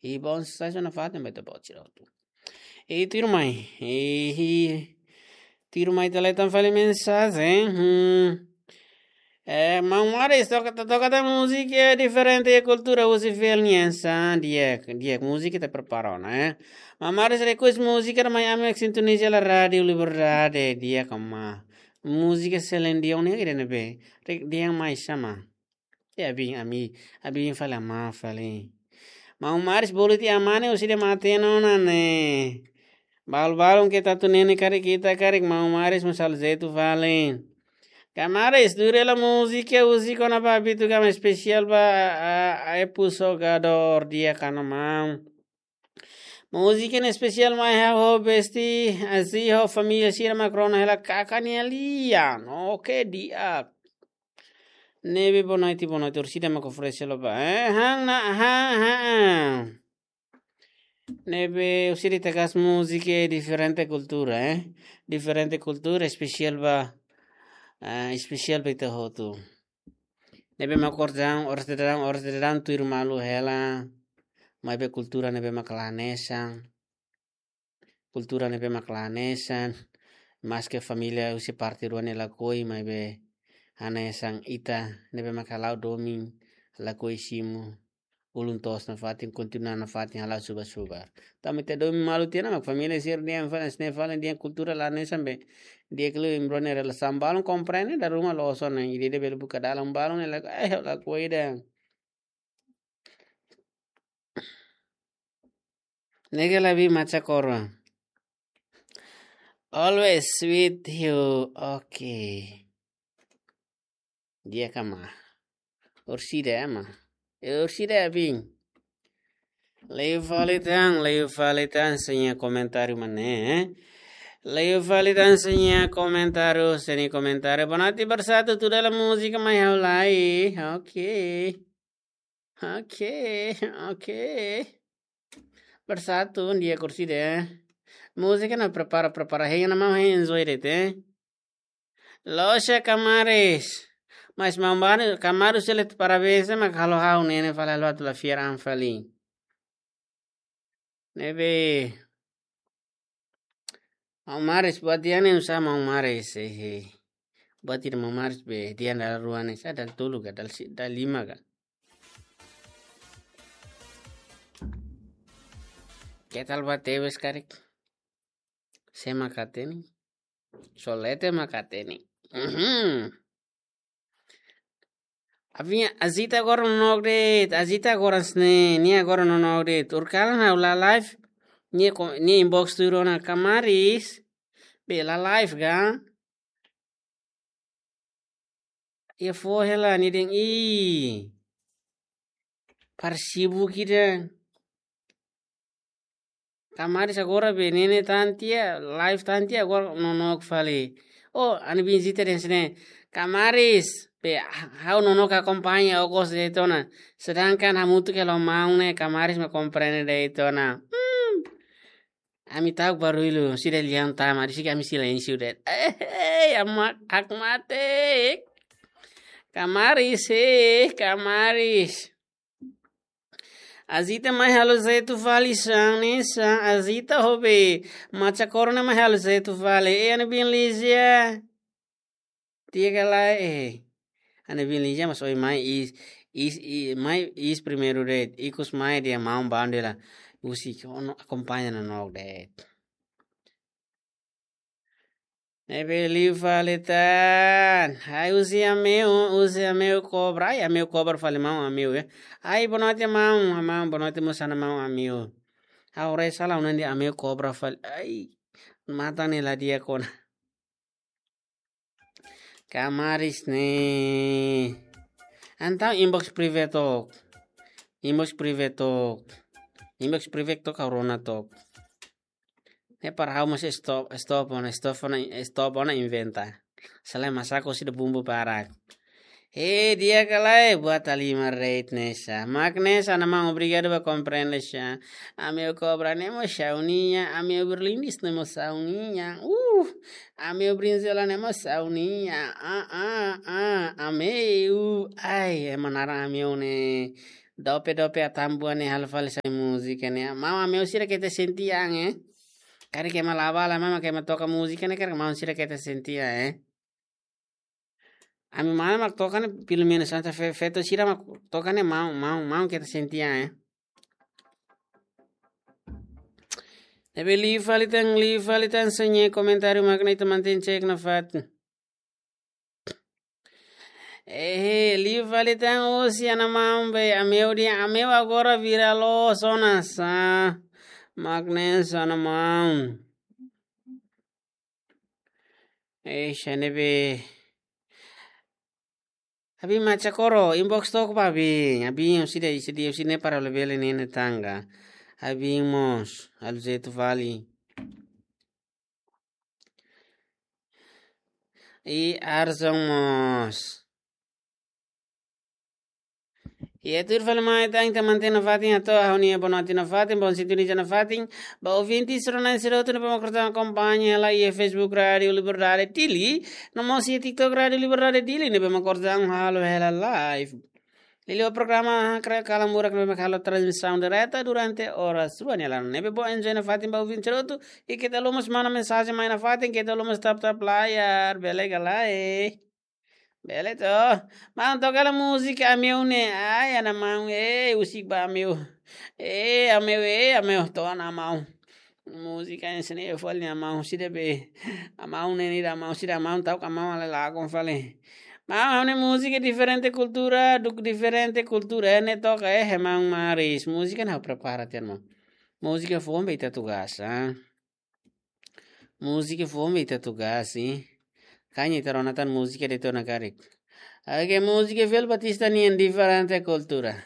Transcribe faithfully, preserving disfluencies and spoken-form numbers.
I bom sai só nafatin ba ita-boot sira hotu. I tuirmai. I, i tuirmai ita lee tan fali mensajen. Hmm. Eh, Maun Maris, toka, toka tan múzika diferente iha kultura husi fiel nian sa, di'ak, di'ak múzika ita prepara ona, eh. Maun Maris request múzika mai ami sintonia hela Rádiu Liberdade, di'ak ka maun. Múzika selendi oni ida ne'ebé. Rek dia mai sama. Ya, abin, ami, abin fali ama fali. Maun Maris bolu tiha ama ne'e, husi ida matenek ona ne'e. Balu-balu ke tatu nene karik ita karik, Maun Maris mós halo jeitu fali. Kamaris, dure la múzika husi kona-ba Bitu Gama, espesiál ba, a, a, a, epu jogadór di'ak ka maun. Múzika ne'e espesiál mai ha'u ho besti, Azi ho família sira mak rona hela kakan nia lian. Oke, di'ak. Ne'ebé boa noite, boa noite. Orsida mak oferese loba. Eh, han na, han, han. Ne'ebé orsida ita gosta múzika diferente kultura, eh. Diferente kultura, espesiál ba, ah, espesiál ba ita hotu. Ne'ebé mak orsida, orsida, orsida tuir malu hela. Maibé kultura ne'ebé mak la hanesan. Kultura ne'ebé mak la hanesan. Maske família husi parte rua ne'e lakohi, maibé hanesan ita ne'ebé mak hala'o domin, lakohi simu. Ulun toos nafatin, kontinua nafatin hala'o subar-subar. Tanba ita domin malu tiha ona mak família sira dehan fali, hanesan ne'e fali dehan kultura la hanesan be. Di'ak liu imi rua nia relasaun, balun komprende, dala ruma loos ona, ida-ida bele buka dalan, balun ne'e lakohi, eh, lakohi ida. Nega labi maca koro. Always with you. Oke. Di'ak ka maun. Orsida ya maun. Eh, orsida ya bin. Liu fali tan, liu fali tan, sira-nia komentáriu mak ne'e, eh. Liu fali tan, sira-nia komentáriu, sira-nia komentáriu. Boa noite, Bersatu, tuda la múzika mai ha'u lai. Oke. Oke, oke. Bersatu, di'ak orsida. Múzika ne'e prepara, prepara. Hein na maun, hein enjoy de'it, eh. Loos Kamaris. Mas maun Maris, Kamaris sira parabéns, mak halo ha'u ne'e ne'e fali halo atu la fiar an fali. Ne'ebé. Maun Maris, buat di'ak ne'e oinsá Maun Maris, eh, eh. Buat ida Maun Maris be, di'ak dala rua ne'e, sa dala tolu ka, dala si-, dala lima ka. Ketal ba tebes karik. Sé mak hatene. Solete mak hatene. Mhm. Aviña, Azita agora nonook de'it, Azita agora sne, nia agora nonook de'it. Urkalan ha'u la live, nia ko-, nia inbox tuir ona Kamaris, be la live ga. Iha foho hela nia dehan, ih. Parsibu kida. Kamaris agora be nene tan tiha, live tan tiha, agora nonook fali. Oh, ami-nia biin Zita dehan hanesan ne'e. Kamaris, be ha-, ha'u nonook akompaña, ha'u gosta de'it ona. Sedangkan hamutuk hela ho maun ne'e, Kamaris mak komprende de'it ona. Hmm. Ami ta'uk barullu, sira lian tama, depois ami silénsiu de'it. Eh, eh, ama, hakmatek. Kamaris, eh, Kamaris. Azita mai halo jeitu fali hanesan ne'e, Azita ho be. Maca koro ne'e mai halo jeitu fali. Eh, ami-nia biin Lizia. Tiha kala, eh. Ami-nia biin Lizia mas oi mai iis, iis, i-, mai iis primeiru de'it. Ikus mai dehan maun bandu hela. Husi kona akompaña nonook de'it. Ne'ebé liu fali tan. Ai, husi Ameu, husi Ameu Kobra. Ai, Ameu Kobra fali maun Ameu, eh. Ai, boa noite maun, maun, boa noite mós ona maun Ameu. Ha'u haree sala ona dehan Ameu Kobra fali. Ai, matan ne'e la di'ak ona. Kamaris ne'e. Entaun inbox private took. Inbox private took. Inbox private took ha'u rona took. Ne'e para ha'u mós stop, stop ona, stop ona, stop ona inventa. Selain masako sida bumbu barak. He, di'ak ka lae, buat halimar de'it ne'e sa. Mak ne'e sa, maun, obrigadu ba komprende sa. Ameu Kobra ne'e mós ha'u-nian, Ameu Berlindis ne'e mós ha'u-nian. Uh, Ameu Brinzela ne'e mós ha'u-nian. Ah, ah, ah, Ameu. Ai, ema naran Ameu ne'e. Dope dope atambua ne'e halo fali sai múzika ne'e. Maun, ameu sira keta sente an, eh. Karik ema laba la, maun, ema toka múzika ne'e, karik maun sira keta sente an, eh. Ami mane mak toka ne'e, pelumenus ita fe-, feto sira mak toka ne'e, maun, maun, maun keta sente an, eh. Ne'ebé liu fali tan, liu fali tan, se nia komentáriu mak ne'e ita mantein cek nafatin. Eh, liu fali tan, husi Ana Maun be, ameu dehan, ameu agora vira loos ona sá. Mak ne'e sá, Ana Maun. Eh, xane be. Abin Macha Koro, inbox took ba abin. Abin, husi de'it, husi de'it, husi ne'e para labele ne'e ne'e tanga. Abin mós, halo jeitu fali. I Arzon mós. I atu tuir fali mai tan, ita mantein nafatin atu, ha'u-nia boa noite nafatin, bom sintonia nafatin. Ba ouvinte sira-ne'e sira hotu ne'ebé mak orsida akompaña hela iha Facebook Rádio Liberdade Dili, no mós iha TikTok Rádio Liberdade Dili, ne'ebé mak orsida halo hela live. Liuliu programa Kre Kalan Murak ne'ebé mak halo transmisaun direta durante oras rua nia laran. Ne'ebé bom enjoy nafatin ba ouvinte sira hotu, i keta haluha mós manda mensajen mai nafatin, keta haluha mós tap tap layar, bele ka lae. Bele to. Maun, toka hela múzika Ameu ne'e. Ai, Ana Maun, eh, husik ba Ameu. Eh, Ameu, eh, Ameu, to'o Ana Maun. Múzika ensina eu fali Ana Maun, husi de'it be. Ana Maun ne'e nia Ana Maun, husi de'it Ana Maun, tau ka Ana Maun ale lago fali. Maun, ha'u-nia múzika diferente kultura, duk diferente kultura, eh, ne'e toka, eh, maun maris. Múzika ne'e ha'u prepara tiha, maun. Múzika foun be ita atu gasta, ah. Múzika foun be ita atu gasta, eh. Kaña ita rona tan múzika de'it ona karik. Oke, múzika Fel Batista nian diferente kultura.